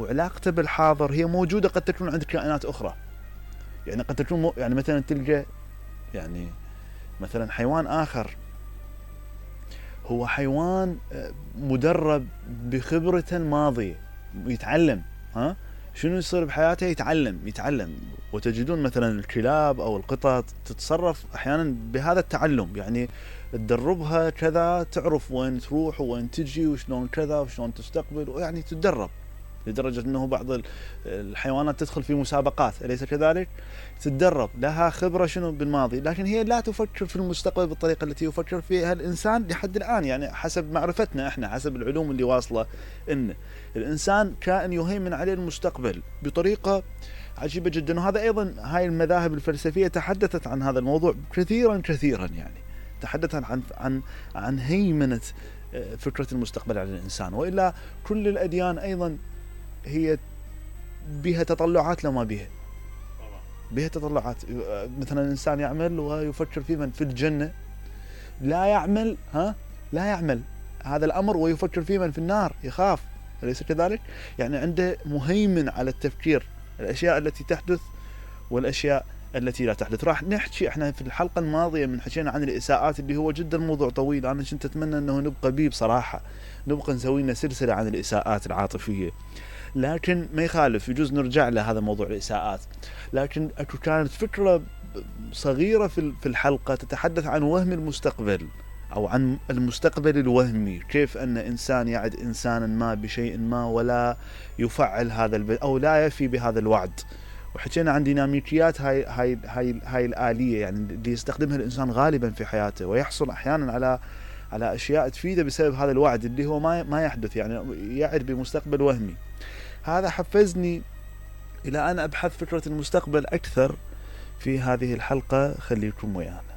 وعلاقته بالحاضر هي موجودة قد تكون عند كائنات أخرى. يعني قد تكون يعني مثلا تلقى يعني مثلا حيوان آخر هو حيوان مدرب بخبرته الماضية يتعلم، شنو يصير بحياته يتعلم. وتجدون مثلا الكلاب أو القطط تتصرف أحيانا بهذا التعلم، يعني تدربها كذا تعرف وين تروح وين تجي وشلون كذا وشلون تستقبل، ويعني تتدرب لدرجة أنه بعض الحيوانات تدخل في مسابقات أليس كذلك؟ تتدرب، لها خبرة شنو بالماضي، لكن هي لا تفكر في المستقبل بالطريقة التي يفكر فيها الإنسان لحد الآن. يعني حسب معرفتنا احنا، حسب العلوم اللي واصلة، إن الإنسان كائن يهيمن عليه المستقبل بطريقة عجيبة جدا. وهذا أيضا هاي المذاهب الفلسفية تحدثت عن هذا الموضوع كثيرا، يعني تحدثت عن هيمنة فكرة المستقبل على الإنسان. وإلا كل الأديان أيضا هي بها تطلعات لما بها تطلعات. مثلا الإنسان يعمل ويفكر في من في الجنة، لا يعمل هذا الأمر ويفكر في من في النار، يخاف، أليس كذلك؟ يعني عنده مهيمن على التفكير، الأشياء التي تحدث والأشياء التي لا تحدث. راح نحكي احنا في الحلقة الماضية من حكينا عن الإساءات اللي هو جدا موضوع طويل، أنا كنت أتمنى أنه نبقى بيه بصراحة، نبقى نسوي لنا سلسلة عن الإساءات العاطفية، لكن ما يخالف يجوز نرجع لهذا موضوع الإساءات. لكن كانت فكرة صغيرة في الحلقة تتحدث عن وهم المستقبل أو عن المستقبل الوهمي، كيف أن إنسان يعد إنسانا ما بشيء ما ولا يفعل هذا أو لا يفي بهذا الوعد. وحكينا عن ديناميكيات هاي الآلية، يعني اللي يستخدمها الإنسان غالبا في حياته، ويحصل أحيانا على أشياء تفيده بسبب هذا الوعد اللي هو ما يحدث، يعني يعد بمستقبل وهمي. هذا حفزني إلى أن أبحث فكرة المستقبل أكثر في هذه الحلقة. خليكم ويانا.